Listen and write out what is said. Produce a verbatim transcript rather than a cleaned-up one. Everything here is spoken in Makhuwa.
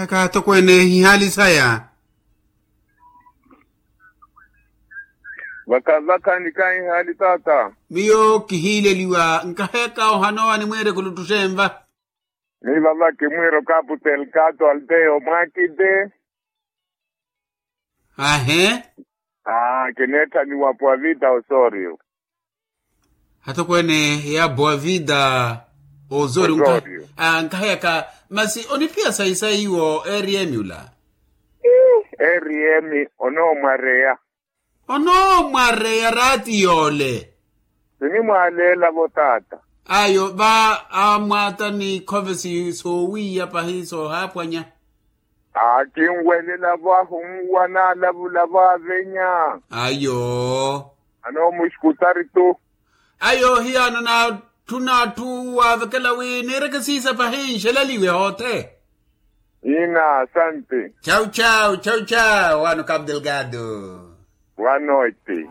Kaatokweene ihaali saya. Vaka vaka nikahi ihaali taata. Miyo kihiileliwa nkaheka ohanowa ni mwiire kuluttuxe enva. Ni vava kimwiiro kaputel kato alteo mwakite. Ahe. Aa kineetthaniwa puwa vita osorio. Atokweene ya boa vida. Ozorio. Ozorio. Nkaheyaka. Masi oniphiya saisai iwo eriyemi ula? Eriyemi onoomwareya. Onoomwareya raati yoole. Sinimwaaleelavo taata. Ayo va amwaata ni khove soowiya pahi soohaapwanya. Akinwelelavo ahunwa naalavulavo avenya. Ayo. Anoomuxikutari tu. Ayo hiyano naatthuna atthu waavekela wi niireke siisa pahi nxeleliwe hoothe. Ina asante. Chau chau chau chau wano cabo delgado. Wano eti.